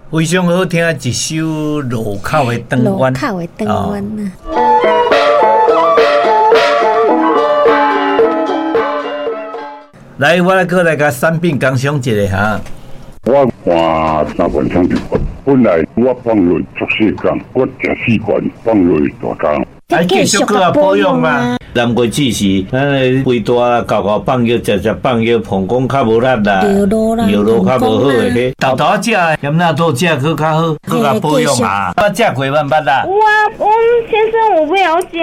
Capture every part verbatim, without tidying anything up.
非常好聽一首路口的轉路彎。口的轉彎啊。來，我來閣來共產品工商一下哈。我換三罐雙球，本來我放落足細工，我食四罐放落大工。啊，繼續閣來保養啊！南瓜子是咱的肥大啦，厚厚放藥，食食放藥，膀胱較無力啦，尿路啦，尿路較無好的，彼豆豆仔食的，鹹納豆食閣較好，閣較保養啊。我食過捌捌啦。有啊，阮先生有買予我食。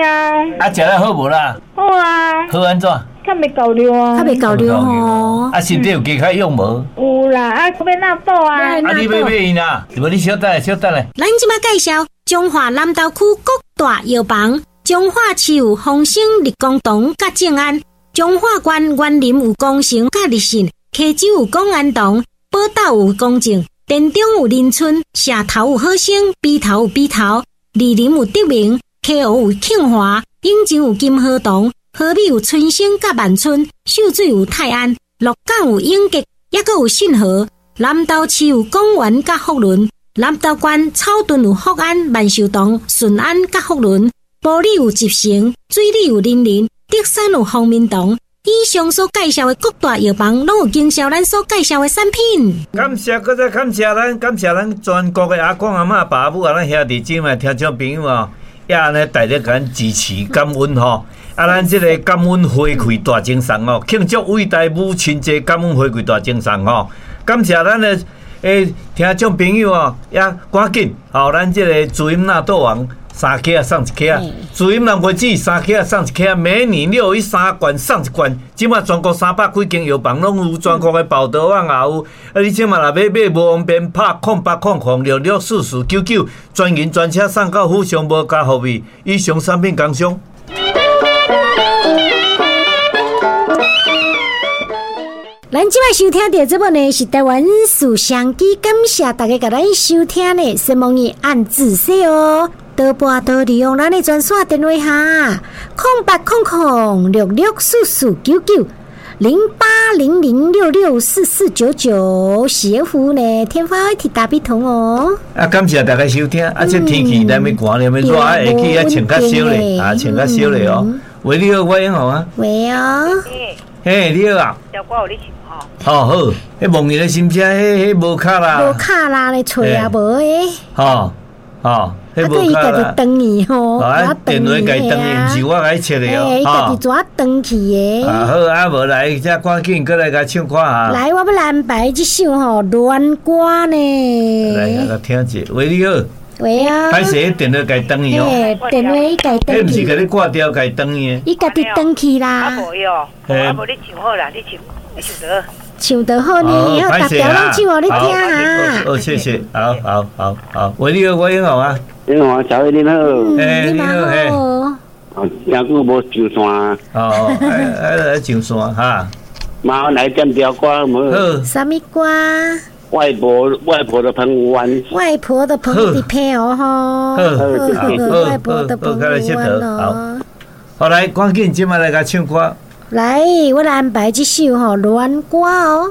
啊，食了好無啦？好啊。好按怎？較袂厚尿啊。較袂厚尿吼。啊，身體有加較勇無？有啦，啊，欲納豆啊。啊，你欲買伊啦？無你小等下，小等下。咱這擺介紹彰化南投區各大藥房，彰化市有豐盛、立功堂佮正安，彰化縣員林有光成佮立信，溪州有廣安堂，寶斗有公正，田中有林村，社頭有好生，埤頭有埤頭，二林有德明，溪湖有慶華，永靖有金河堂，和美有春生佮萬春，秀水有泰安，鹿港有永吉，抑閣有信和，南投市有廣元佮福倫。南投縣草屯有福安、萬壽堂、順安佮福倫，埔里有集成，水里有林林，竹山有方明堂。以上所介紹的各大藥房，攏有經銷咱所介紹的產品。感謝，閣再感謝咱，感謝咱全國的阿公阿嬤、爸母啊，咱兄弟姊妹、聽眾朋友啊，也按呢大力共咱支持感恩吼。啊，咱這個感恩回饋大贈送哦，慶祝偉大母親節感恩回饋大贈送吼，感謝咱的。欸，聽眾朋友哦，也趕緊，吼，咱這個注音納豆王三克送一克，注音南瓜子三克送一克，美女六一三罐送一罐。這馬全國三百幾間藥房攏有，全國的報道網也有。啊，你這馬若欲買無方便，拍空八空空六六四四九九，專人專車送到府上，無加服費。以上產品工商。咱這擺收聽著這部呢是台灣事商機，感謝大家共咱收聽呢。先問伊按仔細哦，多撥多利用咱的專線電話哈，空八空空六六四四九九零八零零六六四四九九，是服呢天發 I T 打比通哦。啊，感謝大家收聽。啊，這天氣咱欲寒，欲熱，啊，下去啊穿較少咧，啊穿較少咧哦。喂，你好，我英雄啊。喂哦。嘿，你好啊。小歌有咧唱吼。好好，彼梦伊咧心声，彼彼无卡啦。无卡啦，咧揣也无的。吼吼，彼无卡啦。啊，伊家己断去吼。啊，电话家断去，毋是我共伊切的哦。伊家己怎断去的？啊好，啊无來，遮趕緊閣來共唱看下。來，我欲來安排這首吼戀歌呢。來，來聽者，喂，你好。喂啊！歹勢，電話共斷去哦。電話伊共斷去。彼毋是共你掛掉，共斷去的。伊家己斷去啦。啊無伊哦，啊無你唱好啦，你唱，你唱得。唱得好呢，好，逐條攏唱予你聽啊。好，謝謝，好好好好。喂，你好，我英雄啊。英雄啊，小偉你好。欸，你好，嘿。哦，真久無上線。哦，愛來上線哈。麻煩來點條歌無？好。啥物歌？外婆，外婆的澎湖灣。外婆的澎湖灣哦，吼。好，外婆的澎湖灣哦。好，來，趕緊，這擺來共唱歌。來，我來安排這首吼戀歌哦。